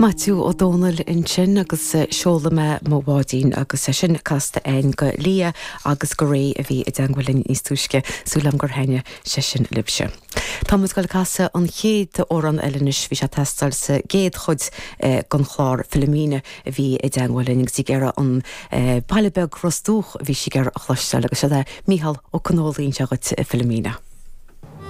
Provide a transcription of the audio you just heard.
Maitiú Ó Dónaill ansin agus seolfaidh mé mo bháidín agus é sin casta againn go Leah agus go Ray a bhí i dteangmháil linn níos túisce. Súil agam gur thaitnigh sé sin libhse. Tá muid ag dul ag casadh an chéad amhrán eile anois. Bhí sé ag teastáil sa gcéad chuid den chlár Philomena a bhí i dteangmháil linn agus í ag iarraidh an baile beag Ros Dumhach a bhí sí ag iarraidh a chloisteáil agus seo é Mícheál Ó Conghaile anseo dhuit Philomena.